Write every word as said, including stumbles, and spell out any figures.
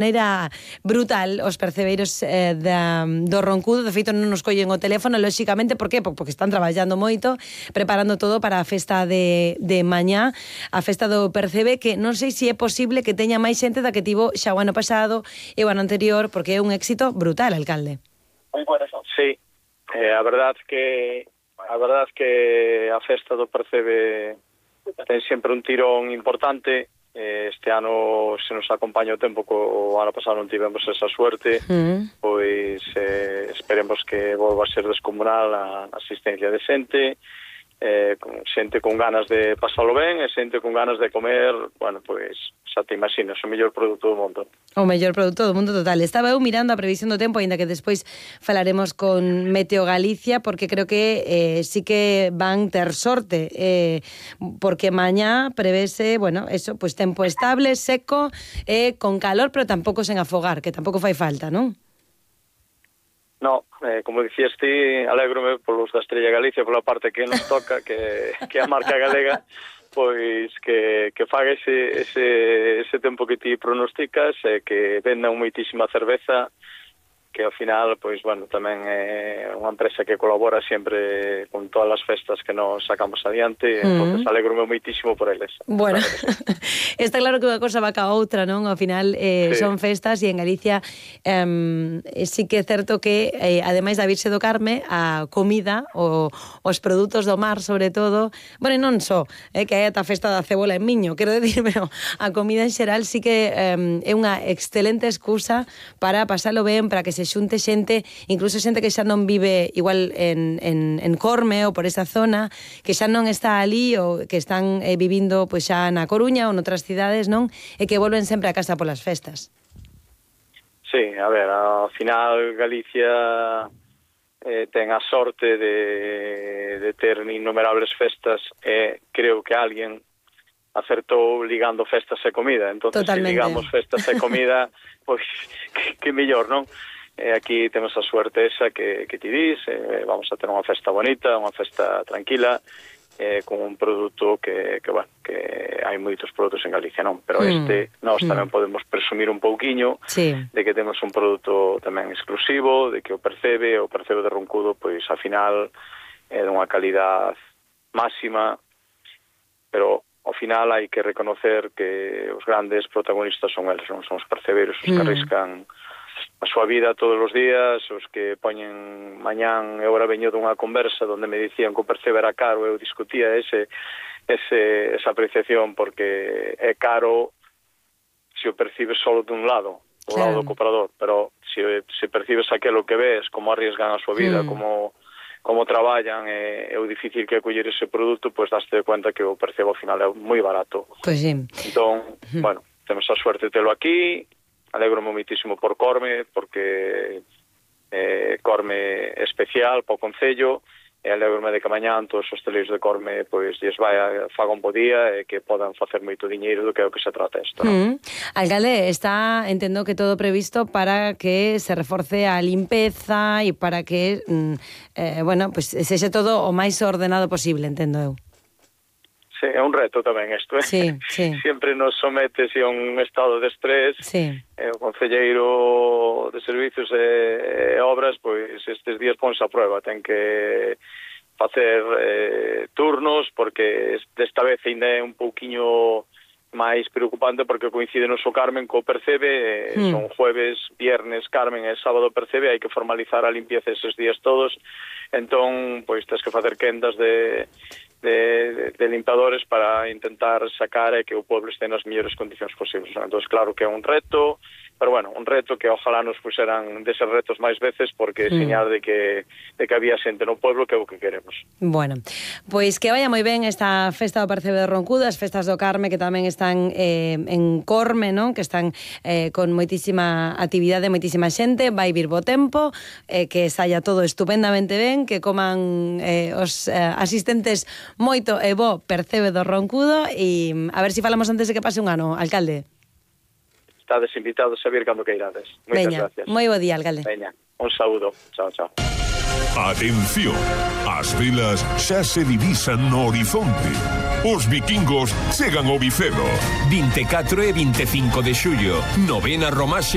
maneira brutal os percebeiros eh, da, do Roncudo. De feito non nos collen o teléfono, lóxicamente, por qué? Porque están traballando moito, preparando todo para a festa de, de mañá, a festa do Percebe, que non sei se é posible que teña máis xente da que tivo xa o ano pasado e o ano anterior, porque é un éxito brutal, alcalde. Sí, eh, a verdade que a verdade que a festa do Percebe ten sempre un tirón importante. Este ano se nos acompaña o tempo, que o ano pasado non tivemos esa suerte, mm. pois eh, esperemos que volva a ser descomunal a asistencia de xente, eh, con xente con ganas de pasalo ben e xente con ganas de comer, bueno, pois xa te imaginas, o mellor produto do mundo. O mellor produto do mundo total. Estaba eu mirando a previsión do tempo, ainda que despois falaremos con Meteo Galicia, porque creo que eh, sí que van ter sorte, eh, porque mañá prevese, bueno, eso, pues tempo estable, seco, eh, con calor, pero tampouco sen afogar, que tampouco fai falta, non? No, eh, como dicías ti, alégrome polos da Estrella Galicia, pola parte que nos toca, que, que a marca galega, pois que, que faga ese, ese, ese tempo que ti pronosticas, e que vendan moitísima cerveza, que ao final, pois, bueno, tamén é unha empresa que colabora sempre con todas as festas que nos sacamos adiante, mm. entonces alegro-me moitísimo por eles. Bueno, está claro que unha cosa va ca outra, non? Ao final eh, sí. son festas, e en Galicia eh, sí que é certo que, eh, ademais da Virxe do Carme, a comida, o, os produtos do mar, sobre todo, bueno, non só, eh, que hai ata festa da cebola en Miño, quero dicir, pero a comida en xeral sí que eh, é unha excelente excusa para pasalo ben, para que se se xunte xente, incluso xente que xa non vive igual en, en, en Corme ou por esa zona, que xa non está ali ou que están eh, vivindo pois xa na Coruña ou noutras cidades, non? E que volven sempre a casa polas festas. Sí, a ver, ao final Galicia eh, ten a sorte de, de ter innumerables festas, e creo que alguén acertou ligando festas e comida. Entón, se ligamos festas e comida, pois que, que mellor, non? Eh, aquí temos a suerte esa que, que ti dis, eh, vamos a ter unha festa bonita, unha festa tranquila, eh, con un produto que, que, bueno, que hai moitos produtos en Galicia, non? Pero mm. este, nós mm. tamén podemos presumir un pouquiño sí. de que temos un produto tamén exclusivo, de que o Percebe, o Percebe de Roncudo, pois, ao final, é eh, dunha calidad máxima, pero ao final hai que reconocer que os grandes protagonistas son eles, non? Son os percebeiros, os que arriscan a súa vida todos os días, os que poñen mañán. Eu agora veño dunha conversa onde me dicían que o Percebe era caro, eu discutía ese, ese, esa apreciación, porque é caro se o percibes solo dun lado, do claro. lado do comprador, pero se, se percibes aquilo que ves, como arriesgan a súa vida, mm. como como traballan, e é o difícil que é coller ese produto, pois daste de cuenta que o Percebe ao final é moi barato. Pois sí. Entón, mm. bueno, temos a suerte de telo aquí. Alegro-me moitísimo por Corme, porque eh, Corme é especial para o Concello, e alegro-me de que mañán todos os hosteleiros de Corme pois lles vai a faga un bo día e que podan facer moito diñeiro, do que é o que se trata isto, non? Mm. Alcalde, está, entendo que todo previsto para que se reforce a limpeza e para que, mm, eh, bueno, pues sexa todo o máis ordenado posible, entendo eu. Sí, é un reto tamén isto, eh? Sí, sí. Sempre nos sometes a un estado de estrés. Sí. Eh, o concelleiro de servicios e, e obras, pois estes días ponse a prueba, ten que facer eh, turnos, porque desta vez ainda é un pouquiño máis preocupante, porque coincide no so Carmen co Percebe, eh, mm. son jueves, viernes Carmen e sábado Percebe, hai que formalizar a limpieza eses días todos, entón, pois tens que facer quendas de De, de, de limpadores para intentar sacar e que o pueblo este nas mellores condicións posibles. Entón, claro que é un reto, pero bueno, un reto que ojalá nos puseran deses retos máis veces, porque é mm. señal de que, de que había xente no pueblo, que é o que queremos. Bueno, pois que vaya moi ben esta festa do Percebe de Roncudo, as festas do Carme, que tamén están eh, en Corme, non? Que están eh, con moitísima actividade, moitísima xente, vai vir bo tempo, eh, que saia todo estupendamente ben, que coman eh, os eh, asistentes moito e bo Percebe do Roncudo, e a ver se si falamos antes de que pase un ano, alcalde. Estades invitados a vir cando que irades. Moitas Veña, gracias. moi bo día, alcalde. Veña, un saúdo. Chao, chao. Atención, as velas xa se divisan no horizonte. Os vikingos chegan ao Vicedo. vinte e catro e vinte e cinco de xullo, novena Romaxe